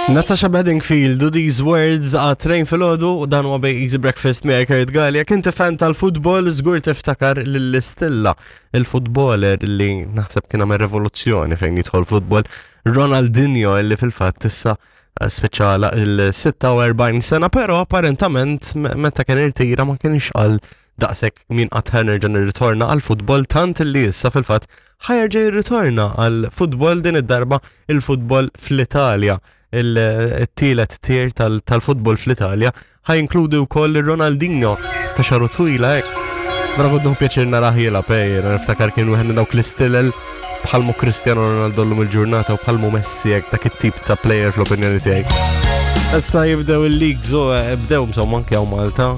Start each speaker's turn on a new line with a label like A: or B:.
A: Natasha Bedingfield u These Words għat-train fil-ħodu u dan huwa bej Easy Breakfast miegħek Kurt Galli. Jekk inti fan tal-futbol, żgur tiftakar lill-istilla il-futboler li naħseb kien għamel revoluzzjoni fejn jidħol futbol, Ronaldinho li fil-fatt issa speċjala il-46 sena, però apparentament meta kien irtira ma kienx qal daqshekk min qatt ħa nerġa' nirritorna għall-futbol tant li issa fil-fatt ħajerġa' jirritorna għall-futbol din id-darba il-futbol fl-Italja il-tielet tier tal-futbol fl-Italja ħa jinkludi wkoll Ronaldinho ta' xaru twila hekk. Vera kont nieħu pjaċir narah jilgħab eh, jiena niftakar kien wieħed minn dawk l-istilel bħalmu Cristiano Ronaldo llum il-ġurnata u bħalmu Messi hekk dak it-tip ta' player fl-opinjoni tiegħi. Issa jibdew il-leagues u eh, bdew insomma anke hawn Malta.